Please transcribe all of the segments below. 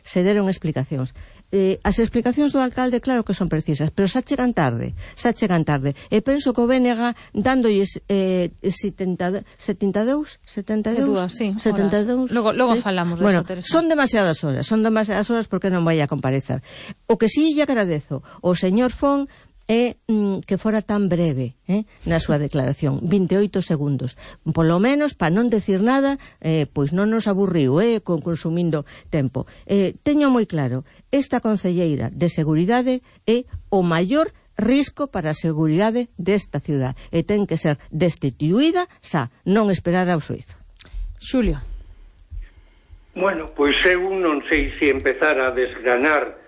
se deron explicacións. As explicacións do alcalde claro que son precisas, pero xa chegan tarde, e penso que o BNG dándolles 72 logo falamos de eso, Teresa. Son demasiadas horas porque non vai a comparecer. O que si lle agradezo o señor Fon é que fora tan breve na súa declaración, 28 segundos, polo menos para non decir nada, pois non nos aburriu consumindo tempo. Teño moi claro, esta concelleira de seguridade é o maior risco para a seguridade desta ciudad e ten que ser destituída xa, non esperar ao xuízo. Xulio. Bueno, pois eu non sei se empezar a desgranar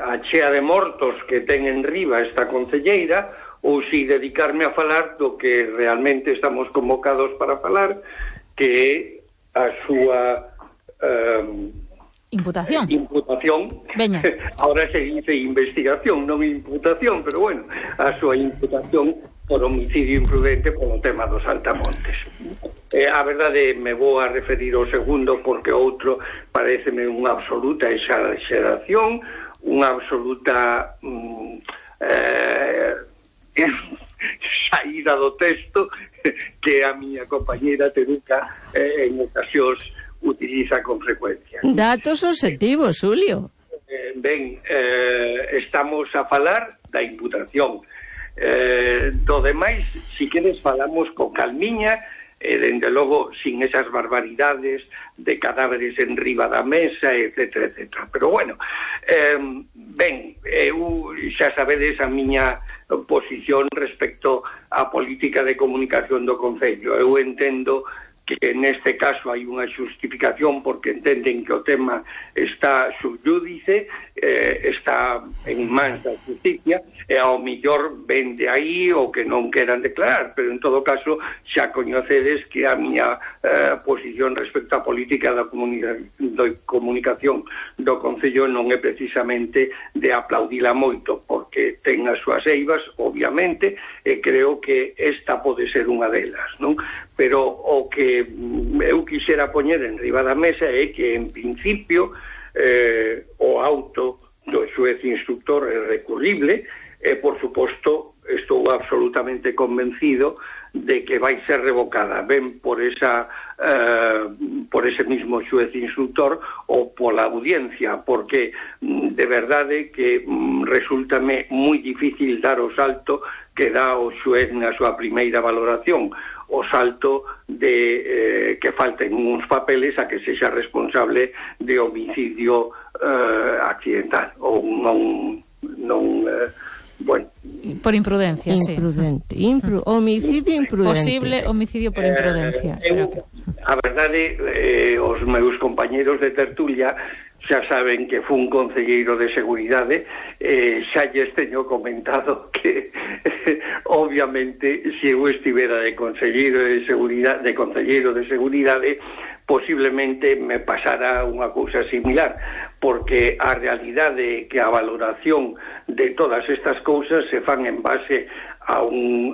a chea de mortos que ten en riba esta concelleira ou si dedicarme a falar do que realmente estamos convocados para falar, que é a súa imputación. Veña. Ahora se dice investigación, non imputación, pero bueno, a súa imputación por homicidio imprudente polo tema dos Altamontes. A verdade, me vou a referir ao segundo porque outro pareceme unha absoluta exageración, unha absoluta saída do texto que a miña compañera Teruca en ocasións utiliza con frecuencia. Datos objetivos, Julio. Estamos a falar da imputación. Do demais, si queres, falamos con calmiña, dende logo sin esas barbaridades de cadáveres en riba da mesa, etcétera, etcétera. Pero bueno, eu xa sabedes a miña posición respecto á política de comunicación do Concello. Eu entendo que neste caso hai unha xustificación porque entenden que o tema está subjúdice, está en mans da justicia, e ao millor ven de aí o que non queran declarar, pero en todo caso xa coñecedes que a miña posición respecto á política da comunicación do Concello non é precisamente de aplaudila moito, porque ten as súas eivas, obviamente, e creo que esta pode ser unha delas, non? Pero o que eu quixera poñer en riba da mesa é que, en principio, o auto do xuez instructor é recurrible e, por suposto, estou absolutamente convencido de que vai ser revocada, ben por ese mismo xuez instructor ou pola audiencia, porque de verdade que resultame moi difícil dar o salto que dá o xuez na súa primeira valoración, o salto de que falten uns papeles a que sexa responsable de homicidio accidental ou non bueno, por imprudencia, homicidio imprudente, posible homicidio por imprudencia. A verdade, os meus compañeros de tertulia xa saben que fun concelleiro de seguridade, xa lles teño comentado que obviamente se eu estivera de concelleiro de seguridade posiblemente me pasara unha cousa similar, porque a realidade é que a valoración de todas estas cousas se fan en base a un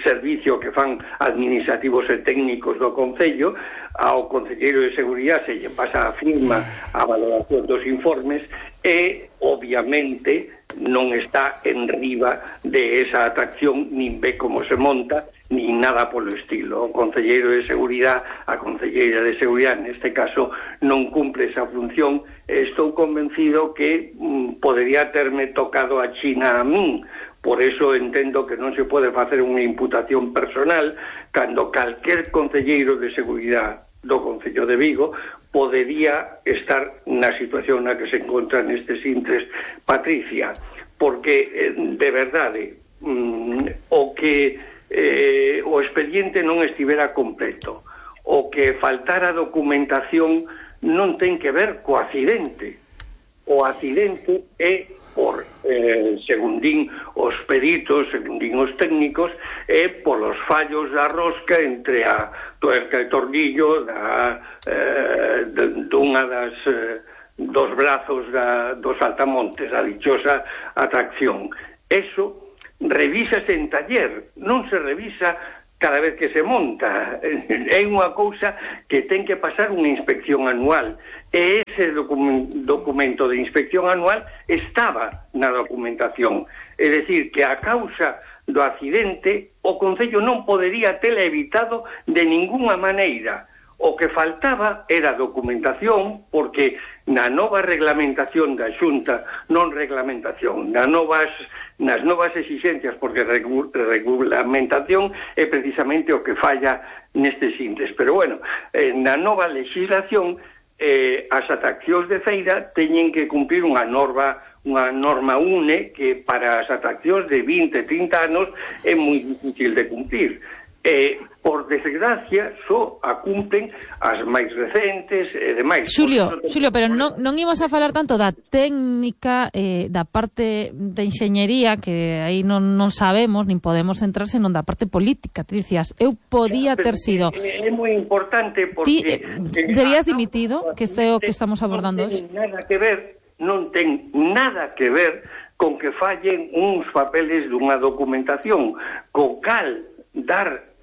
servicio que fan administrativos e técnicos do Concello. Ao concelleiro de seguridade se lle pasa a firma a valoración dos informes e, obviamente, non está en riba de esa atracción, nin ve como se monta, nin nada polo estilo. O concelleiro de seguridade, a concelleira de seguridade, neste caso, non cumpre esa función. Estou convencido que podería terme tocado a China a min. Por eso entendo que non se pode facer unha imputación personal cando calquer concelleiro de seguridade do Concello de Vigo podería estar na situación na que se encontra nestes intres Patricia, porque de verdade o expediente non estivera completo, o que faltara documentación non ten que ver co accidente. O accidente é por, segundín os peritos, segundín os técnicos, e polos fallos da rosca entre a tuerca e tornillo dunha dos brazos dos Altamontes, a dichosa atracción. Eso revísase en taller, non se revisa cada vez que se monta. É unha cousa que ten que pasar unha inspección anual, e ese documento de inspección anual estaba na documentación. É dicir, que a causa do accidente o Concello non podería tela evitado de ninguna maneira. O que faltaba era documentación, porque na nova reglamentación da Xunta, nas novas exixencias, porque regulamentación é precisamente o que falla nestes índices. Pero bueno, na nova legislación, as atraccións de feira teñen que cumplir unha norma UNE que para as atraccións de 20-30 anos é moi difícil de cumplir. Por desgracia, só a cumplen as máis recentes e demais. Xulio, pero non imos a falar tanto da técnica, da parte de enxeñería, que aí non sabemos, nin podemos entrar, senón da parte política. Te dicías, eu podía ter sido... É moi importante porque... Serías dimitido, que este é o que estamos abordando hoxe? Non ten nada que ver con que fallen uns papeles dunha documentación, co cal dar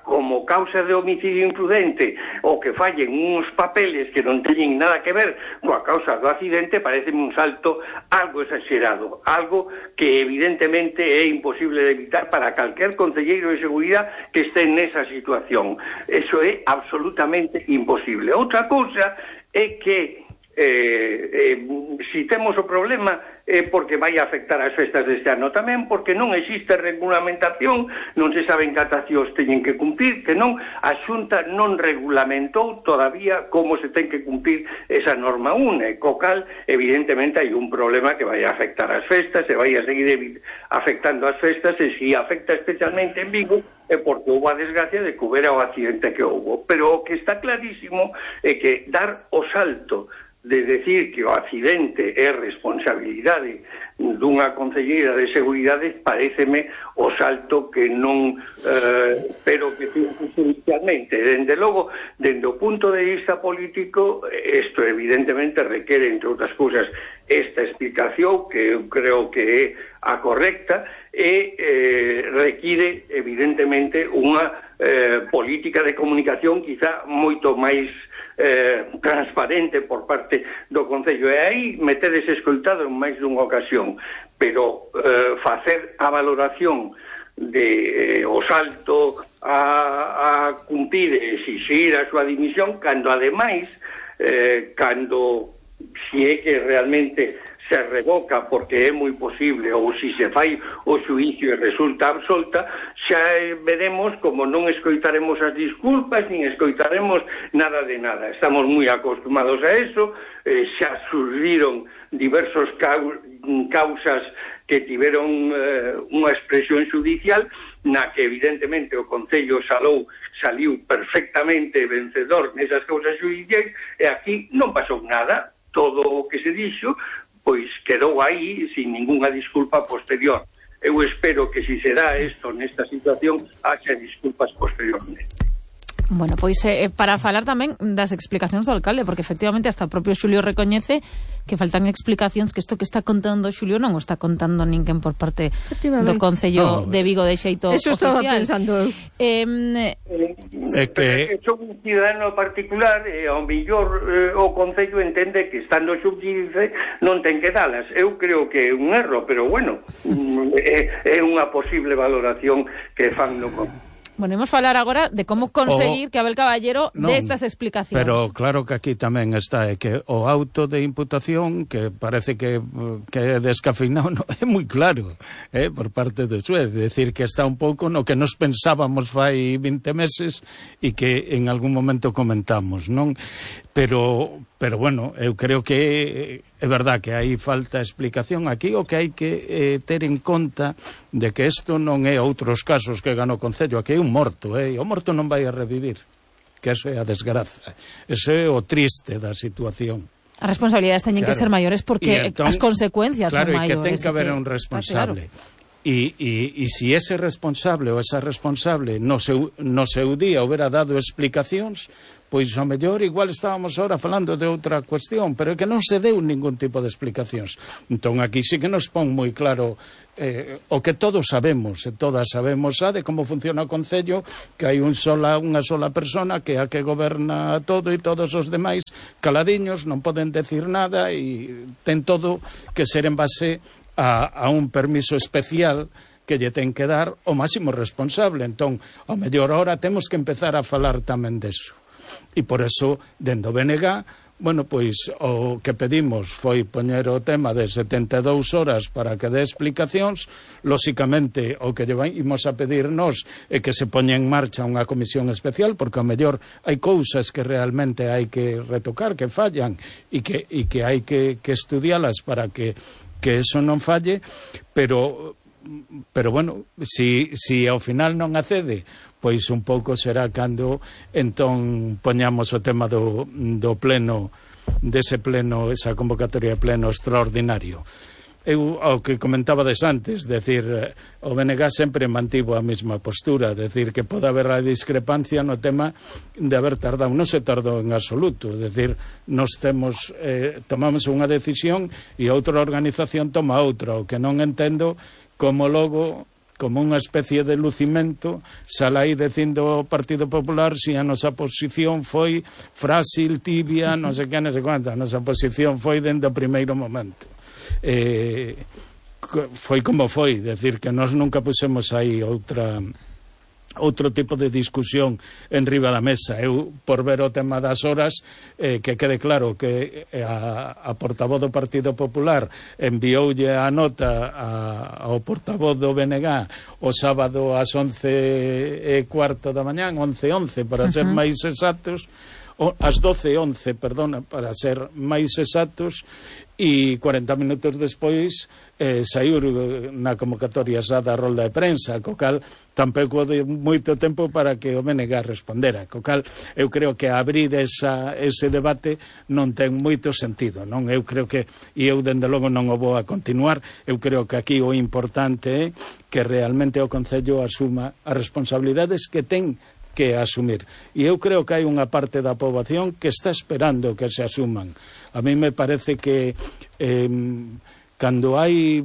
como causa de homicidio imprudente o que fallen uns papeles que non teñen nada que ver coa causa do accidente, pareceme un salto algo exagerado, algo que evidentemente é imposible de evitar para calquer concelleiro de seguridade que este nesa situación. Eso é absolutamente imposible. Outra cousa é que si temos o problema é porque vai afectar as festas deste ano tamén, porque non existe regulamentación, non se saben que atracións teñen que cumplir, que non, a Xunta non regulamentou todavía como se ten que cumplir esa norma UNE, co cal evidentemente hai un problema que vai afectar as festas, e vai a seguir afectando as festas, e si afecta especialmente en Vigo é porque houve a desgracia de que houbera o accidente que houve. Pero o que está clarísimo é que dar o salto de decir que o accidente é responsabilidade dunha concelleira de seguridade pareceme o salto que non pero que inicialmente. Dende logo, dende o punto de vista político, isto evidentemente requere, entre outras cousas, esta explicación que eu creo que é a correcta, e require evidentemente unha política de comunicación quizá moito máis transparente por parte do Concello, e aí me tedes escoitado en máis dunha ocasión, pero facer a valoración de o salto a cumprir e exixir a súa dimisión, cando ademais cando si é que realmente se revoca, porque é moi posible, ou si se fai o xuízo e resulta absolta, xa veremos como non escoitaremos as disculpas, nin escoitaremos nada de nada. Estamos moi acostumados a eso, xa surgiron diversos causas que tiveron unha expresión judicial na que evidentemente o Concello saliu perfectamente vencedor nesas causas judiciais, e aquí non pasou nada. Todo o que se dixo pois quedou aí sin ninguna disculpa posterior. Eu espero que si se dá isto nesta situación haxa disculpas posteriormente. Bueno, pois para falar tamén das explicacións do alcalde, porque efectivamente hasta o propio Xulio recoñece que faltan explicacións, que isto que está contando Xulio non o está contando ninguén por parte do Concello de Vigo de xeito eso oficial. Estaba pensando eu. Que son un cidadano particular, e ao mellor o Concello entende que estando xubdice non ten que dalas. Eu creo que é un erro, pero bueno, é unha posible valoración que fan no Concello. Bueno, imos falar agora de como conseguir que Abel Caballero dé estas explicacións. Pero claro que aquí tamén está que o auto de imputación, que parece que é descafeinado, no, é moi claro por parte do xuez, decir que está un pouco no que nos pensábamos fai 20 meses e que en algún momento comentamos, non? Pero bueno, eu creo que é verdad que hai falta explicación aquí, o que hai que ter en conta de que isto non é outros casos que ganó o Concello, aquí é un morto, o morto non vai a revivir, que eso é a desgraza, eso é o triste da situación. As responsabilidades teñen que ser maiores porque entón, as consecuencias son maiores. Claro, e que ten que haber un responsable. E se ese responsable ou esa responsable no seu día houbera dado explicacións, pois ao mellor igual estábamos ahora falando de outra cuestión, pero é que non se deu ningún tipo de explicacións. Entón aquí sí que nos pon moi claro o que todos sabemos, e todas sabemos de como funciona o Concello, que hai unha sola persona que é a que goberna todo e todos os demais caladiños, non poden decir nada e ten todo que ser en base a un permiso especial que lle ten que dar o máximo responsable. Entón, ao mellor ahora temos que empezar a falar tamén deso. E por eso, dende o BNG, bueno, pois o que pedimos foi poñer o tema de 72 horas para que dé explicacións. Lóxicamente, o que imos a pedir nós é que se poña en marcha unha comisión especial, porque ao mellor hai cousas que realmente hai que retocar, que fallan, e que hai que estudialas para que eso non falle, pero bueno, si ao final non accede, pois un pouco será cando entón poñamos o tema do pleno, dese pleno, esa convocatoria de pleno extraordinario. Eu, ao que comentabades antes, decir, o BNG sempre mantivo a mesma postura, decir que pode haber a discrepancia no tema de haber tardado. Non se tardou en absoluto, decir, nos tomamos unha decisión e outra organización toma outra. O que non entendo como logo, como unha especie de lucimento, sale aí dicindo o Partido Popular si a nosa posición foi frágil, tibia, non sei que, non sei cuánto. A nosa posición foi dende o primeiro momento. Foi como foi, decir que nós nunca pusemos aí outro tipo de discusión en riba da mesa. Eu, por ver o tema das horas, que quede claro que a portavoz do Partido Popular envioulle a nota ao portavoz do BNG o sábado ás 11:15 da mañán, 11:11 para ser máis exactos, ás 12:11, perdona, para ser máis exactos, e 40 minutos despois saiu na convocatoria xa da rolda de prensa, co cal tampouco de moito tempo para que o BNG respondera, co cal eu creo que abrir ese debate non ten moito sentido, non? Eu creo que, e eu dende logo non o vou a continuar, eu creo que aquí o importante é que realmente o Concello asuma as responsabilidades que ten que asumir. E eu creo que hai unha parte da poboación que está esperando que se asuman. A mí me parece que cando hai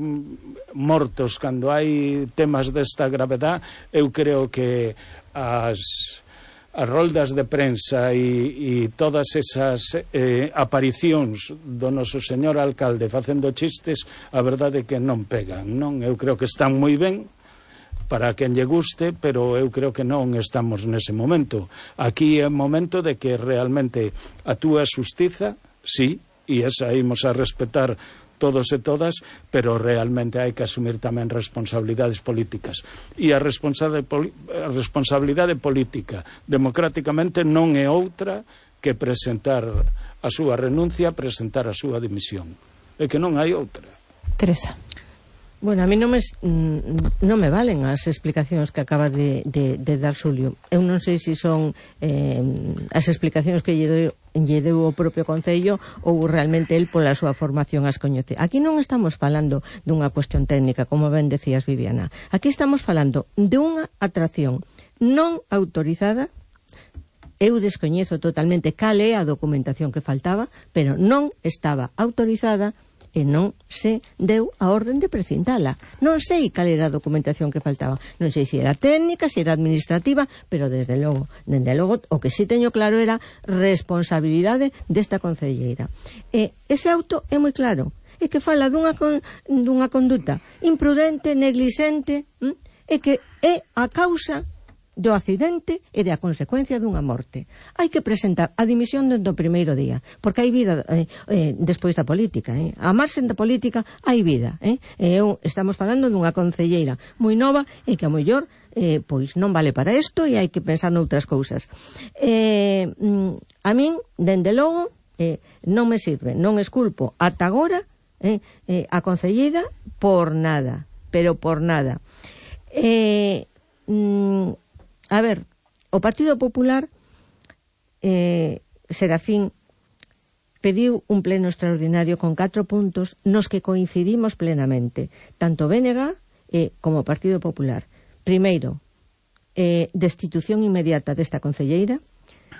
mortos, cando hai temas desta gravedad, eu creo que as roldas de prensa e todas esas aparicións do noso señor alcalde facendo chistes, a verdade é que non pegan, non? Eu creo que están moi ben para quen lle guste, pero eu creo que non estamos nese momento. Aquí é o momento de que realmente actúe a xustiza, sí, e esa imos a respetar todos e todas, pero realmente hai que asumir tamén responsabilidades políticas. E a responsabilidade política democráticamente non é outra que presentar a súa renuncia, presentar a súa dimisión. É que non hai outra. Teresa. Bueno, a mí non me valen as explicacións que acaba de dar Xulio. Eu non sei se son as explicacións que lle deu o propio Concello ou realmente el pola súa formación as coñece. Aquí non estamos falando dunha cuestión técnica, como ben decías, Viviana. Aquí estamos falando de unha atracción non autorizada. Eu descoñezo totalmente cal é a documentación que faltaba, pero non estaba autorizada e non se deu a orden de precintala. Non sei cal era a documentación que faltaba. Non sei se era técnica, se era administrativa, pero desde logo, o que sí teño claro era responsabilidade desta concelleira. Ese auto é moi claro. É que fala dunha conduta imprudente, neglisente, e que é a causa do accidente e da consecuencia dunha morte. Hai que presentar a dimisión dentro do primeiro día, porque hai vida despois da política. A marxen da política hai vida. Estamos falando dunha concelleira moi nova e que a mellor pois non vale para isto e hai que pensar noutras cousas. A min, dende logo, non me sirve, non esculpo ata agora a concelleira por nada, pero por nada. A ver, o Partido Popular, Serafín, pediu un pleno extraordinario con 4 puntos nos que coincidimos plenamente, tanto BNG como Partido Popular, primeiro, destitución inmediata desta concelleira.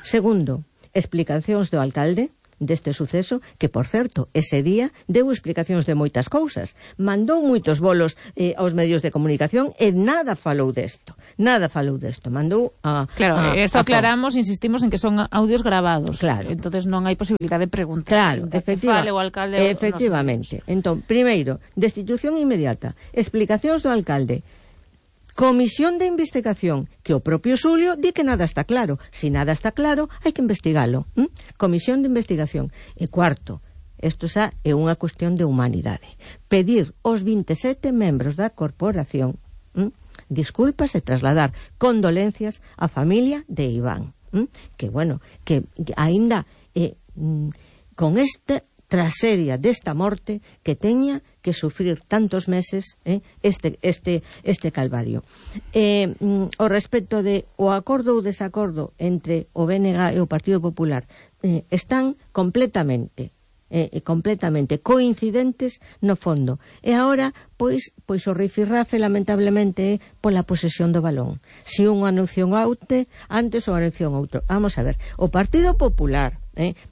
Segundo, explicacións do alcalde deste suceso, que, por certo, ese día deu explicacións de moitas cousas, mandou moitos bolos aos medios de comunicación e nada falou desto, mandou a... Claro, esto aclaramos, insistimos en que son audios grabados, claro. Entonces non hai posibilidad de preguntar. Claro, fale o alcalde. Efectivamente. Entón, primeiro, destitución inmediata, explicacións do alcalde, comisión de investigación, que o propio Xulio di que nada está claro. Si nada está claro, hai que investigalo. Comisión de investigación. E cuarto, isto xa é unha cuestión de humanidade. Pedir aos 27 membros da corporación disculpas e trasladar condolencias á familia de Iván. Que, bueno, que aínda con esta tragedia desta morte que teña que sufrir tantos meses este calvario. O respecto de o acordo ou desacordo entre o BNG e o Partido Popular están completamente coincidentes no fondo. E agora, pois o rifirrafe lamentablemente é pola posesión do balón. Si un anuncia un antes ou anuncia un outro. Vamos a ver, o Partido Popular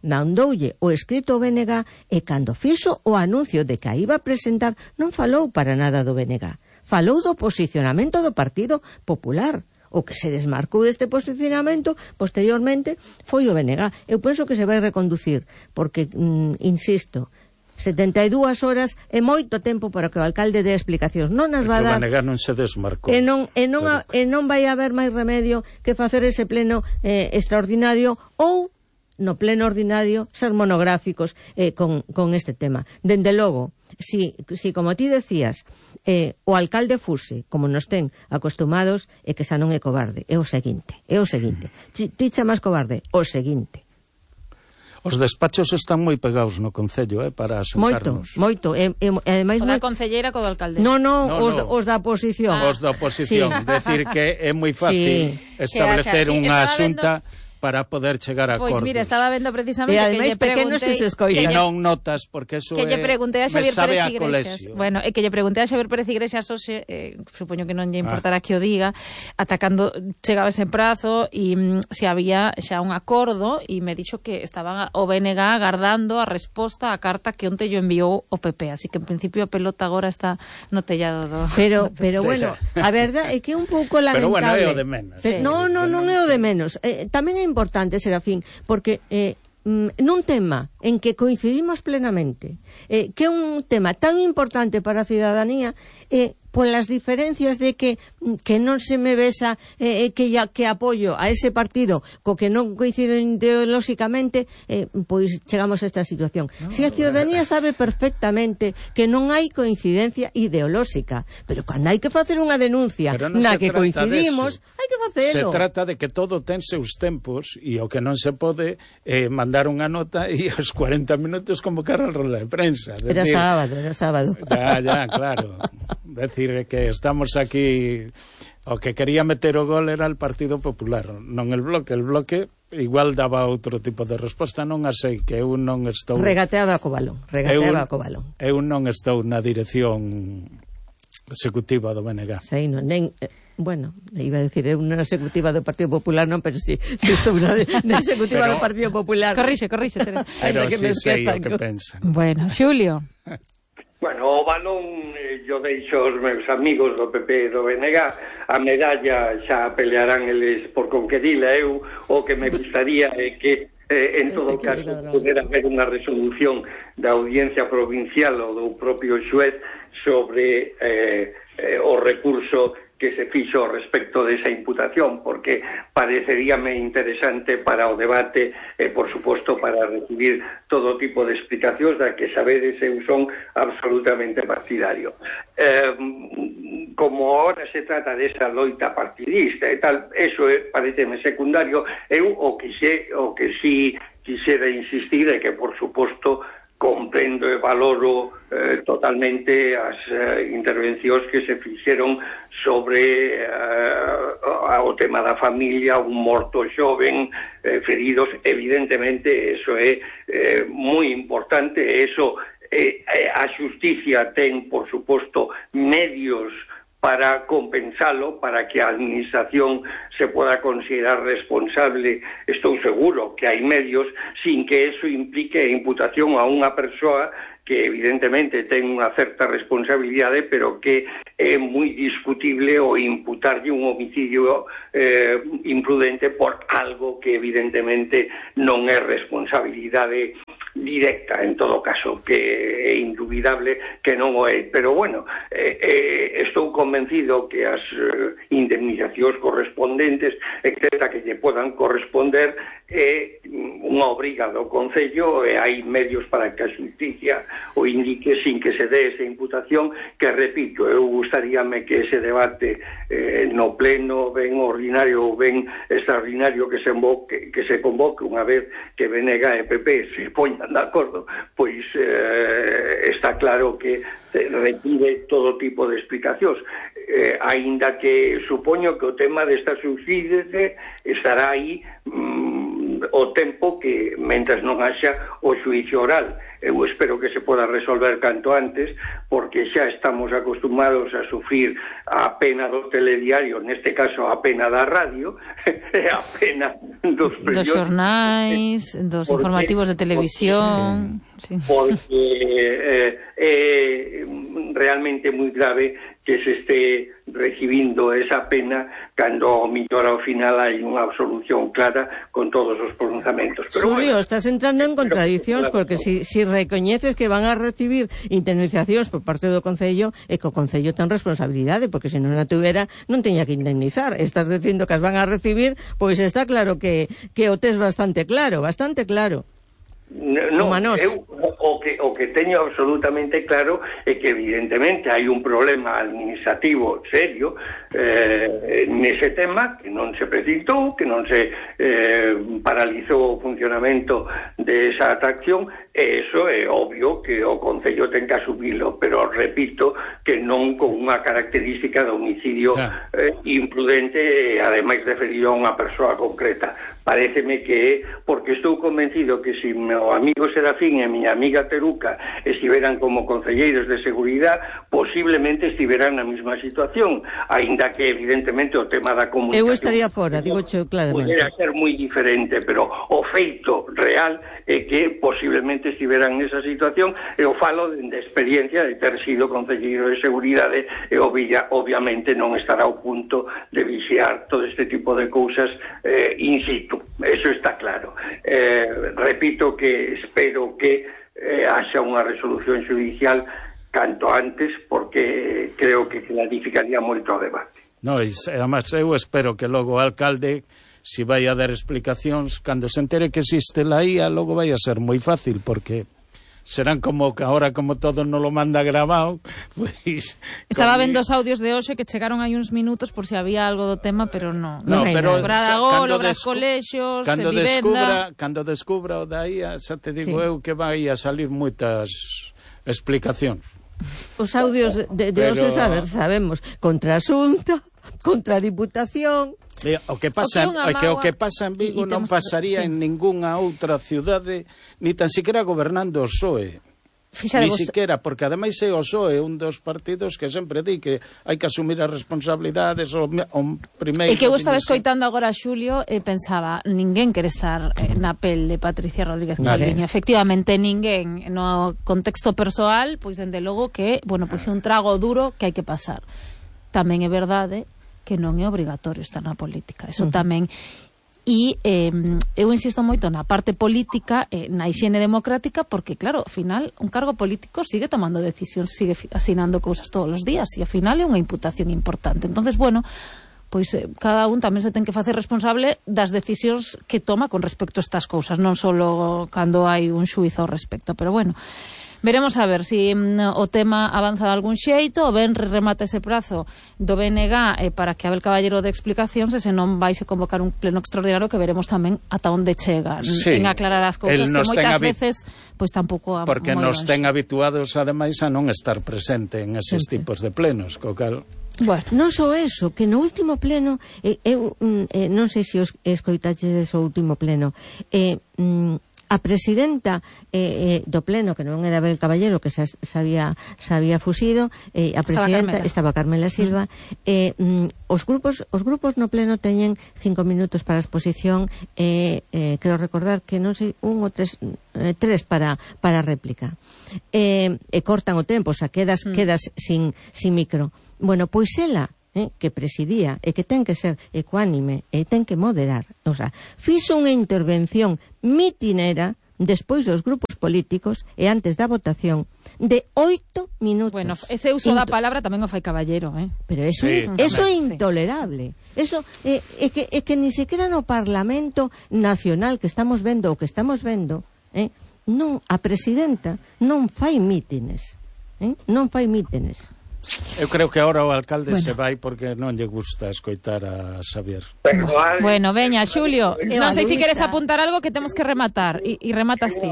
mandoulle o escrito ao BNG e cando fixo o anuncio de que a iba a presentar non falou para nada do BNG, falou do posicionamento do Partido Popular. O que se desmarcou deste posicionamento posteriormente foi o BNG. Eu penso que se vai reconducir porque, insisto, 72 horas é moito tempo para que o alcalde dé explicacións. Non as va dar. O BNG non se desmarcou. E non vai haber máis remedio que facer ese pleno extraordinario ou no pleno ordinario ser monográficos con este tema. Dende logo, si como ti decías, o alcalde fuse, como nos ten acostumados, é que xa non é cobarde, é o seguinte. Ti chamas cobarde, o seguinte. Os despachos están moi pegados no Concello, para asuntarnos. Moito. Ademais, o da concelleira co do alcalde. No, os da oposición. Os da oposición. Sí. Decir que é moi fácil establecer unha asunta para poder chegar a acordos. Pois mira, estaba vendo precisamente e ademais pequenos se escoitan. E non notas, porque eso que lle preguntei a Xavier Pérez Iglesias. Bueno, que lle preguntei a Xavier Pérez Iglesias hoxe, supoño que non lle importará que o diga, atacando chegaba ese prazo e se había xa un acordo e me dixo que estaban o BNG agardando a resposta á carta que onte yo enviou o PP, así que en principio a pelota agora está no tellado do... Pero bueno, a verdade é que é un pouco lamentable. Pero bueno, é o de menos. Sí. Non é o de menos. Tamén é importante, Serafín, porque nun tema en que coincidimos plenamente, que é un tema tan importante para a cidadanía, polas diferencias de que non se me besa que apoio a ese partido co que non coinciden ideolóxicamente, pois chegamos a esta situación. Si a ciudadanía sabe perfectamente que non hai coincidencia ideolóxica, pero cando hai que facer unha denuncia na que coincidimos, hai que facelo. Se trata de que todo ten seus tempos e o que non se pode mandar unha nota e aos 40 minutos convocar a roda de prensa. Era sábado. Ya, claro. Decir que estamos aquí, o que quería meter o gol era el Partido Popular, non el Bloque igual daba outro tipo de resposta, non a sei, que eu non estou... Regateaba co balón. Eu non estou na dirección executiva do BNG. Sei, non, bueno, iba a decir, é unha executiva do Partido Popular, non, pero si estou na executiva do Partido Popular. Corrixe, Teresa. Pero si sei o que pensan. Bueno, Xulio. Bueno, o balón yo deixo aos meus amigos do PP e do BNG, a medalla xa pelearán eles por conquerila. Eu o que me gustaría é que en todo caso pudera haber unha resolución da audiencia provincial ou do propio xuez sobre o recurso que se fixo respecto desa imputación, porque pareceríame interesante para o debate e, por suposto, para recibir todo tipo de explicacións da que sabedes eu son absolutamente partidario. Como ahora se trata desa loita partidista e tal, eso pareceme secundario. Eu o que si quixera insistir é que, por suposto, comprendo e valoro totalmente as intervencións que se fixeron sobre o tema da familia, un morto xoven, feridos. Evidentemente, eso é moi importante. Eso a xusticia ten, por suposto, medios para compensalo, para que a administración se pueda considerar responsable. Estou seguro que hai medios sin que eso implique imputación a unha persoa que evidentemente ten unha certa responsabilidade, pero que é moi discutible o imputarlle un homicidio imprudente por algo que evidentemente non é responsabilidade directa, en todo caso, que é indubidable que non o é. Pero bueno, estou convencido que as indemnizacións correspondentes, etcétera, que lle podan corresponder, é unha obriga do Concello, e hai medios para que a xusticia o indique sin que se dé esa imputación, que, repito, eu gustaríame que ese debate no pleno, ben ordinario ou ben extraordinario, que se convoque unha vez que BNG e PP se poñan de acordo, pois está claro que requiere todo tipo de explicacións, aínda que supoño que o tema desta subsídio estará aí o tempo que, mentras non haxa o xuicio oral. Eu espero que se poda resolver canto antes, porque xa estamos acostumados a sufrir a pena do telediario, neste caso a pena da radio, a pena dos xornais, dos informativos de televisión. Porque é realmente moi grave que se este recibindo esa pena cando ao mellor ao final hai unha absolución clara con todos os pronunciamentos. Xulio, estás entrando en contradicións, porque si recoñeces que van a recibir indemnizacións por parte do Concello, e que o Concello ten responsabilidade, porque se non a tuvera non teña que indemnizar. Estás dicindo que as van a recibir, pois está claro que o tes bastante claro. Non, eu o que teño absolutamente claro é que evidentemente hai un problema administrativo serio nese tema, que non se preciptou, que non se paralizou o funcionamento desa atracción, e iso é obvio que o Concello ten que asumilo, pero repito que non con unha característica de homicidio imprudente, e ademais referido a unha persoa concreta. Paréceme que é porque estou convencido que se meu amigo Serafín e miña amiga Teruca estiveran como concelleiros de seguridade, posiblemente estiveran na mesma situación, aínda que evidentemente o tema da comunicación eu estaría fora, digo claramente, podera ser moi diferente, pero o feito real é que posiblemente estiveran nesa situación, e o falo de experiencia de ter sido concelleiro de seguridade, e obviamente non estará ao punto de vixiar todo este tipo de cousas in situ. Eso está claro. Repito que espero que haxa unha resolución judicial canto antes, porque creo que clarificaría moito o debate. No, además eu espero que logo o alcalde, si vai a dar explicacións, cando se entere que existe la IA, logo vai a ser moi fácil, porque serán como que ahora, como todo non lo manda grabado, pues... Estaba vendo os audios de hoxe que chegaron aí uns minutos por si había algo do tema, pero non hai pero nada. Obras, colexios, vivenda... Cando descubra o da IA, xa te digo eu que vai a salir moitas explicacións. Os audios de hoxe sabemos, contra a Xunta, contra a Diputación... O que pasa en Vigo non pasaría en ningunha outra cidade, ni tan siquiera gobernando o PSOE. Ni siquiera, porque ademais é o PSOE un dos partidos que sempre di que hai que asumir as responsabilidades o primeiro... E que eu estaba escoitando agora a Xulio e pensaba, ninguén quere estar na pel de Patricia Rodríguez Calviño. Efectivamente, ninguén. No contexto persoal, pois dende logo que, bueno, pois é un trago duro que hai que pasar. Tamén é verdade que non é obrigatorio estar na política. Eso tamén. E eu insisto moito na parte política, na hixiene democrática, porque, claro, ao final, un cargo político sigue tomando decisións, sigue asinando cousas todos os días, e ao final é unha imputación importante. Entonces, bueno, pois cada un tamén se ten que facer responsable das decisións que toma con respecto a estas cousas, non só cando hai un xuízo ao respecto, pero bueno... Veremos a ver se o tema avanza de algún xeito, o venres remata ese prazo do BNG para que Abel Caballero de explicacións, e se non vais a convocar un pleno extraordinario que veremos tamén ata onde chega en aclarar as cousas, que moitas veces pois tampouco... Porque nos ten habituados ademais a non estar presente en eses tipos de plenos, co cal... Bueno, non só eso, que no último pleno, eu non sei se os escoitaches o último pleno, A presidenta do pleno, que non era Abel Caballero, que se había fuxido, a presidenta estaba Carmela Silva. Os grupos no pleno teñen 5 minutos para a exposición, quero recordar que non sei, 1 ou 3 para a réplica, e cortan o tempo, o sea, quedas sin micro. Bueno, pois ela, que presidía e que ten que ser ecuánime e ten que moderar, o sea, fixo unha intervención mitinera despois dos grupos políticos e antes da votación de 8 minutos. Bueno, ese uso da palabra tamén o fai Caballero, Pero eso é intolerable. Eso é que ni sequera no Parlamento Nacional que estamos vendo, non, a presidenta non fai mítines. Non fai mítines. Eu creo que agora o alcalde se vai porque non lle gusta escoitar a Xavier. Bueno, veña, Xulio, non sei se queres apuntar algo que temos que rematar, e rematas ti.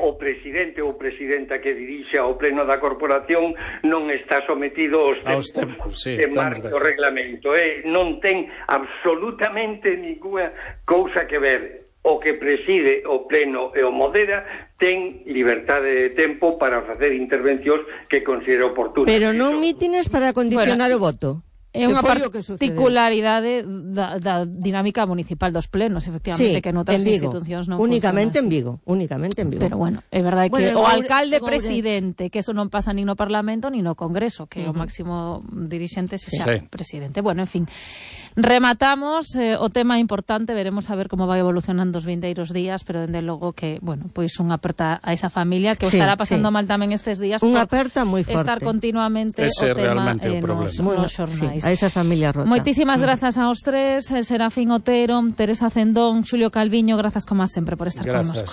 O presidente ou presidenta que dirixe ao pleno da corporación non está sometido aos tempos que marca o reglamento, non ten absolutamente ninguna cousa que ver. O que preside o pleno e o modera ten libertade de tempo para facer intervencións que considere oportunas. Pero non mítines para condicionar o voto. É unha particularidade da dinámica municipal dos plenos, efectivamente, que noutras institucións non únicamente funciona así. Únicamente en Vigo. Pero bueno, é verdade que o alcalde presidente, que eso non pasa nin no Parlamento nin no Congreso, que o máximo dirixente xa presidente. Bueno, en fin, rematamos o tema importante, veremos a ver como vai evolucionando os vindeiros días, pero dende logo que, bueno, pois unha aperta a esa familia que o estará pasando mal tamén estes días unha aperta moi forte. Estar continuamente o tema nos xornais. A esa familia rota. Moitísimas grazas aos tres, Serafín Otero, Teresa Cendón, Xulio Calviño, grazas como sempre por estar connosco.